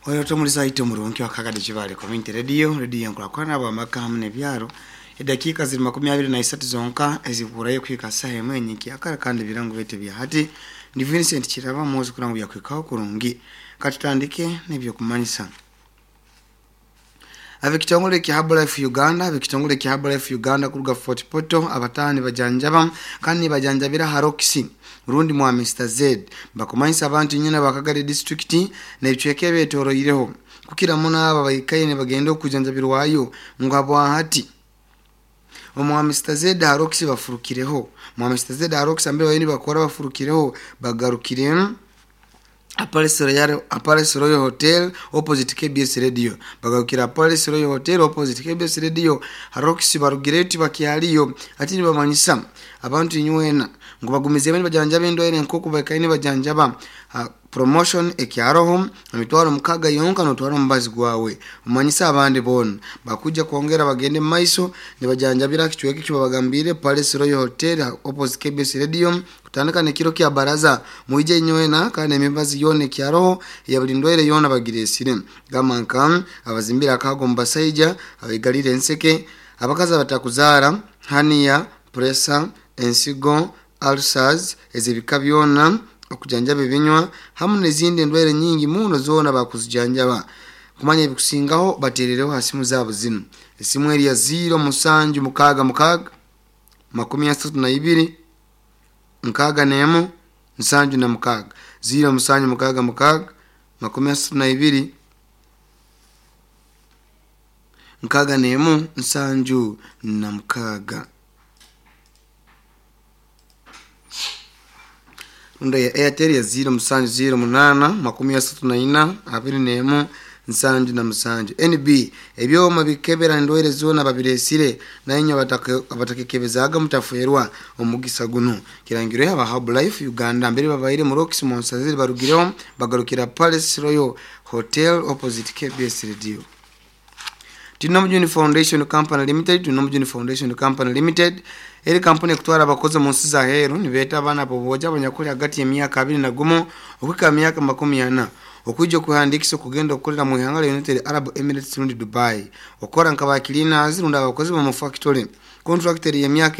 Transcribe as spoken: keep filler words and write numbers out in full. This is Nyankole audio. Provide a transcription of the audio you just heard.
Oyo tomulisa ite omurungi wakagade Kibale Community Radio, radio yankurakurana bwamaka hamwe n'ebyaro. Edakiika ziri makumi abiri na isatu zonka eziburayo kuhika saha emwe enyinkiyakara, kandi ebirango byaitu bya hati ni Vincent Kiraba mwozi kurango byakwikaho kurungi. Katutandike n'ebyokumanyisa. Ab'ekitongole kya Herbalife Uganda, ab'ekitongole kya Herbalife Uganda kuruga Fort Portal, abataha nibajanjaba kandi nibajanjabira ha Roxy rundi mwa Mister Z. Bakumanyisa abantu nyina bakagari district n'ebicweka ebyetoroireho kukira muno aba baikaire nibagenda okujanjabirwayo ngu habwahati omwa Mister Z ha Roxy bafurukireho. Mwa Mister Z ha Roxy ambere bariyo nibakora bafurukireho, bagarukire Palace Royal, Palace Royal Hotel opposite K B S Radio. Bagarukira Palace Royal Hotel opposite K B S Radio Roxy, barugireyo tibakyaliyo. Ati nibamanyisa abantu inywena ngu bagumize nibajanjaba endwaire nkoku baikaire nibajanjaba. uh, promotion ekyaroho, emitwaro mukaga yonka notwara omubazi gwawe. Omanyisa abandi boona bakuja kwongera bagende mumaiso nibajanjabira kicweka ekyo babagambire, Palace Royal Hotel opposite K B S Radio, kutandika nekiro kya baraza. Mwije inywena, kandi emibazi yoona ekyaroho ya buli ndwaire yoona bagiresire, gamba nka abazimbire akago mu basaija, abaigalire enseke, abakazi abatakuzaara, hernia, pressure, ensigo, ulcers ez'ebika byona, okujanjaba ebinywa hamwe n'ezindi endwaire nyingi muno zoona bakuzijanjaba. Kumanya ebikusingaho baterereho ha simu zaabo zinu. Esimu eri ya ziro musanju mukaaga mukaaga makumi asatu na ibiri nkaaga n'emu nsanju na mukaaga, ziro musanju mukaaga mukaaga makumi asatu na ibiri nkaaga n'emu nsanju na mukaaga. Rundo ya Airtel ya ziro musanju ziro munana makumi asatu na ina abiri n'emu nsanju na musanju. N B ebyoma bikebera endwaire zoona babiresire, nainywe abatakekebezaaga mutafwerwa omugisa guno. Kirangirwe aba Herbalife Uganda, mbere babaire mu Roxy Monsaziri, barugireho bagarukira Palace Royal Hotel opposite K B S Radio. Tinomujuni Foundation Company Limited, Tinomujuni Foundation Company Limited eri kampuni ekutwara abakozi mu nsi za heru. Nibeeta abaana boboja abanyakuli hagati y'emyaka abiri na gumu okuhika myaka makumi ana okwija okuhandikisa okugenda okukolera mu ihanga lya United Arab Emirates rundi Dubai, okukora nka ba cleaners rundi abakozi b'omu factory. Contract eri y'emyaka